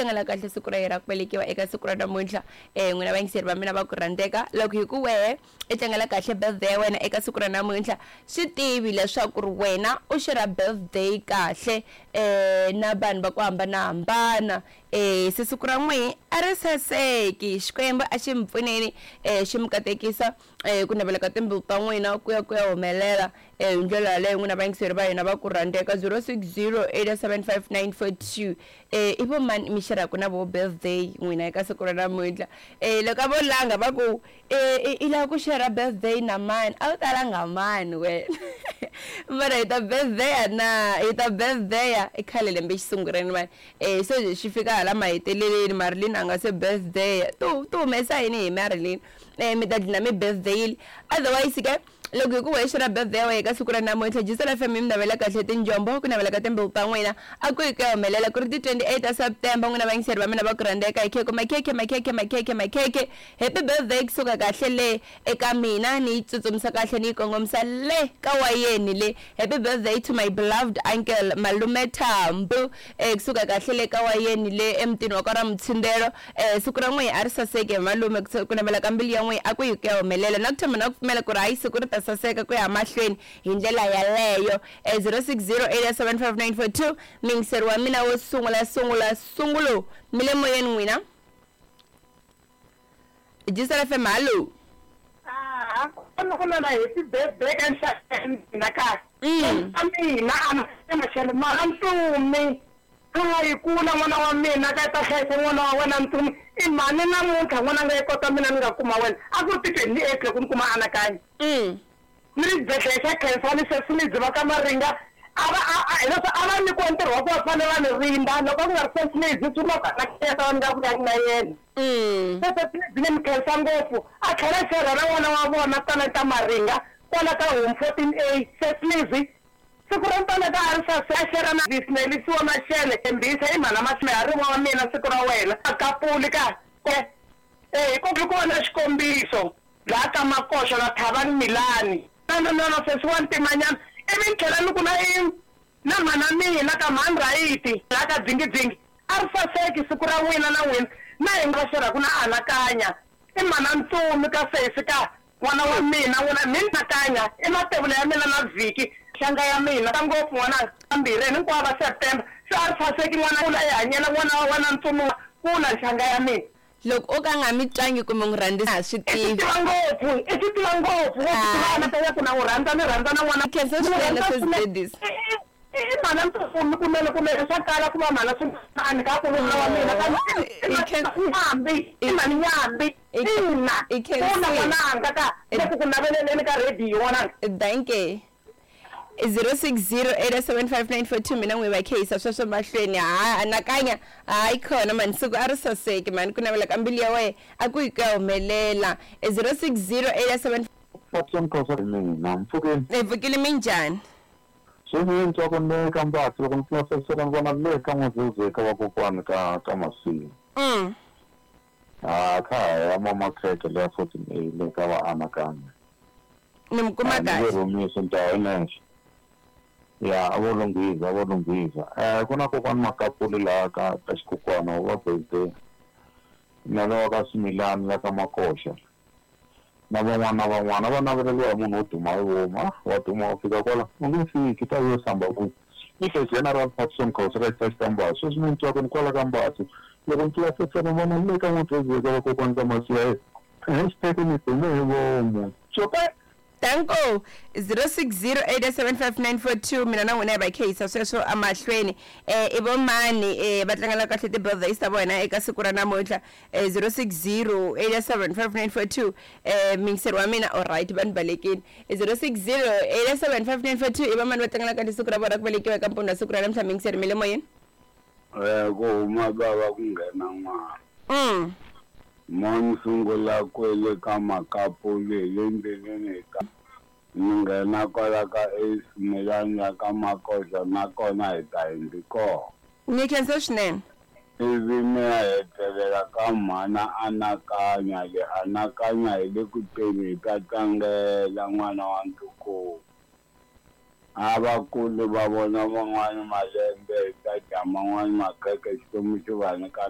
tlangela kahle siku ra yena ra ku velekiwa eka siku ra namuntlha. N'wina vayingiseri va mina va ku rhandzeka, loko hi ku wehe i tlangela kahle birthday ya wena eka siku ra namuntlha, swi tivi leswaku ri wena u xerha birthday kahle na vanhu va ku hambanahambana. Se siku ra n'wihi a ri saseki. Xikwembu a xi mi pfuneni, xi mi katekisa, ku navela ka timbilu ta n'wina ku ya ku ya humelela hi ndlela yaleyo. N'wina vayingiseri va hina va ku rhandzeka, 06087594 i vo mani mi xerhaka na vo birthday n'wina eka siku ra namuntlha? Loko a vo langa va ku i lava ku xerha birthday na mani, a wu ta langa mani wena? Mara hi ta birthday na hi ta birthday i khale lembe xisungureni mani. Se xi fika hala maheteleleni, Marilyn a nga se birthday. Tu humesa yini hi Marilyn? Mi ta dlina mi birthday. Otherwise ke loko hi ku wexe ra birthday ya wena eka siku ra namuntlha, Jisela FM yi mi navela kahle tinjombo, ku navela ka timbilu ta n'wina a ku yi ku ya humelela. Ku ri ti 28 ta September, n'wina vayingiseri va mina va ku rhandzeka, hi khekhe makhekhe makhekhe makhekhe makhekhe. Happy birthday kusuka kahle le eka mina, ni yi tsutsumisa kahle ni yi kongomisa le ka wayeni le. Happy birthday to my beloved uncle Malume Thambu, kusuka kahle le ka wayeni le emutini wa ka ra Mutshindelo. Siku ra n'wihi a ri saseki he malume, ku navela ka mbilu ya n'wihi a ku yi ku ya humelela. Na ku tshemba na ku pfumela ku ri hayi siku ri ta saseka ku ya mahlweni hi ndlela yaleyo. 06087594 muyingiseri wa mina wo sungula sungula sungulo, mi le moyeni n'wina. Jisela FM, hallo. Ah, ku na happy birthday ka nxaka mina ka. A mina a machele mara Ntumi. A yi kula n'wana wa mina ka ta hlayisa n'wana wa wena Ntumi. I mhani namuntlha n'wana nga yi kota mina ni nga kuma wena. A ku ri ti 28 loko ni kuma Anakanya. Ni ri xibedhlele xa Khensani sweswi ni dziva ka Maringa. A va a hileswi a va nyikiwa ntirho wa ku va fanele va ni rinda loko ku nga ri Sesilizi swi vula ku Anakanya ta va ni nga vuyangi na yena. Se Sesilizi ni mi khensa ngopfu. A tlhela xerha na n'wana wa vona Talenta Maringa kwala ka home 14A. Sesilizi siku ra Talenta a ri sase a xerha na Nelisiwa Mashele Thembisa i mhana Masihariwa wa mina siku ra wena a kapuli ka hi ku ku va na xikombiso laha ka Makoxo na Thavani Milani. No no no sesi wa ntimanyana ivi ni tlhela ni ku na i na mhana mina ka mhani Rayiti laha ka Dzingidzingi a ri saseki siku ra n'wina na n'wina na hi nga xerhaku na Anakanya i mhana Ntsumi ka sesi ka n'wana wa mina n'wina mi Anakanya i matevula ya mina na Vhiki xanga ya mina ka ngopfu n'wananga mbirhi hinkwavo va September se a ri saseki n'wana kula i hanyela n'wana wa wena Ntsumi kula nxanga ya mina. Loko o ka nga mi twangi kumbe n'wi rhandzisa ha swi I swi tivi. tiva ngopfu, i swi tiva ngopfu, wo swi tiva anakanya ku na n'wi rhandza ni rhandza na n'wana. Khensa Ni n'wi swinene rhandza sis swinene. Gladys. I mhana Ntsumi kunene kunene swa kala ku va mhana Swinani ka ku nuna wa mina kambe i I khen Nyambi, i i mhani Nyambi. i Ina, i kula khensile. n'wananga ka le ku ku naveleleni ka rhediyo n'wananga. Dankie. 06087594 mina n'wi va kheyisa sweswo mahlweni. Ha anakanya hayi khona mani siku a ri saseki mani, ku navela ka mbilu ya wena a ku yi ku ya humelela. 0608 Patson Khosa mina mpfukeni. Hi pfukile, minjhani? Sweswi ni twa ku ni ka Mbatsi loko ni pfula fensere ni vona le ka N'wazuzu ka vakokwani ka ka Masimu. Ha kha ha ya Mama Khekhe leya 14A le ka va Anakanya. Ni mi kuma Ni nge kahle. rhumisi ni ta ya nexe. Ya a vo lunghiza a vo lunghiza. Ku na kokwani Makapuli laha ka ka xikukwana wa birthday. Na lowa ka Swimilani la ka Makoxa. Na van'wana na van'wana va naveleriwa hi munhu wo duma hi vomu. Ah, wa duma wa fika kwala u nge fiki ta yo samba ku. Ni the General Patson Khosa ka xitaxi ka Mbatsi. Sweswi ni twa ku ni kwala ka Mbatsi. Loko ni pfula fensere ni vona le ka N'wazuzu ka vakokwani ka Masiya. Hashtag ni dume hi vomu. Cope! Danko 06087594 mina na n'wina hi va kheyisa sweswo emahlweni. I vo mani va tlangela kahle ti-birthdays ta vona eka siku ra namuntlha? 06087594 muyingiseri wa mina alright va ni balekile. 06087594 i va mani va tlangela kahle siku ra vona ku velekiwa eka mpundzu wa siku ra namuntlha? Muyingiseri mi le moyeni. Ku huma bava ku nghena n'wana. Mo ni sungula kwele ka Makapuli hi le ndleleni hi ta ni nghena kwala ka Ace Milani la ka Makoxa nakona hi ta hindzi kona. Ni khensa swinene. Ivi ni ya hetelela ka mhana Anakanya le Anakanya hi le ku teni hi ta tlangela n'wana wa ntukulu. A vakulu va vona van'wani malembe hi ta dya man'wani makhekhe Xikwembu xi va nyika.